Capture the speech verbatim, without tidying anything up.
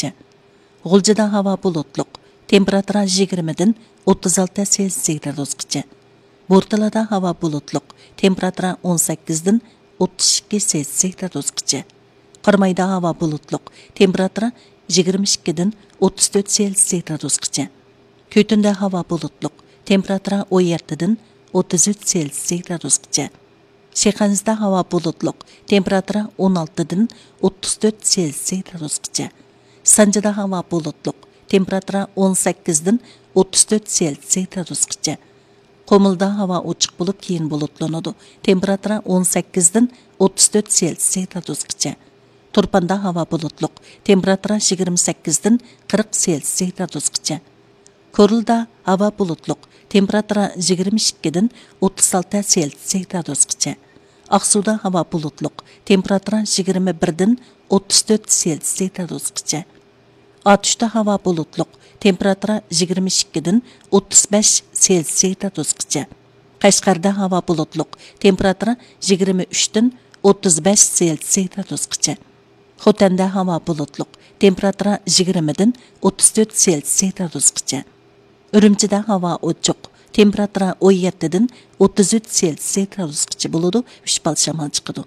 گرادۇسقىچە. غۇلجىدا ھاۋا بۇلۇتلۇق، تېمپېراتۇرا يىگىرمىدىن ئوتتۇز ئالتە سېلسىيە گرادۇسقىچە. بورتالادا ھاۋا بۇلۇتلۇق، تېمپېراتۇرا ئون سەككىزدىن ئوتتۇز ئىككى سېلسىيە گرادۇسقىچە. قارامايدا ھاۋا بۇلۇتلۇق، تېمپېراتۇرا يىگىرمە ئىككىدىن ئوتتۇز تۆت سېلسىيە گرادۇسقىچە. كۈتۈندە ھاۋا بۇلۇتلۇق، تېمپېراتۇرا ئون يەتتىدىن ئوتتۇز ئۈچ سېلسىيە گرادۇسقىچە. شىخەنزىدە ھاۋا بۇلۇتلۇق، تېمپېراتۇرا ئون ئالتىدىن ئوتتۇز تۆت سېلسىيە گرادۇسقىچە. سانجىدا ھاۋا بۇلۇتلۇق، تېمپېراتۇرا ئون سەككىزدىن ئوتتۇز تۆت سېلسىيە گرادۇسقىچە. قۇمۇلدا ھاۋا ئوچۇق بولۇپ، كېيىن بۇلۇتلىنىدۇ. تېمپېراتۇرا ئون سەككىزدىن ئوتتۇز تۆت سېلسىيە گرادۇسقىچە. تۇرپاندا ھاۋا بۇلۇتلۇق، تېمپېراتۇرا يىگىرمە سەككىزدىن قىرىق سېلسىيە گرادۇسقىچە. كورلىدا ھاۋا بۇلۇتلۇق، تېمپېراتۇرا يىگىرمە ئىككىدىن ئوتتۇز ئالتە سېلسىيە گرادۇسقىچە. ئاقسۇدا ھاۋا بۇلۇتلۇق، تېمپېراتۇرا يىگىرمە بىردىن ئوتتۇز تۆت سېلسىيە گرادۇسقىچە. ئاتۇشتا ھاۋا بۇلۇتلۇق، تېمپېراتۇرا يىگىرمە ئىككىدىن ئوتتۇز بەش سېلسىيە گرادۇسقىچە. قەشقەردە ھاۋا بۇلۇتلۇق، تېمپېراتۇرا يىگىرمە ئۈچتىن ئوتتۇز بەش سېلسىيە گرادۇسقىچە. خوتەندە ھاۋا بۇلۇتلۇق، تېمپېراتۇرا يىگىرمىدىن ئوتتۇز تۆت سېلسىيە گرادۇسقىچە. ئۈرۈمچىدە ھاۋا ئوچۇق، تېمپېراتۇرا ئون يەتتىدىن ئوتتۇز ئۈچ سېلسىيە گرادۇسقىچە بولىدۇ، ئۈچ بال شامال چىقىدۇ.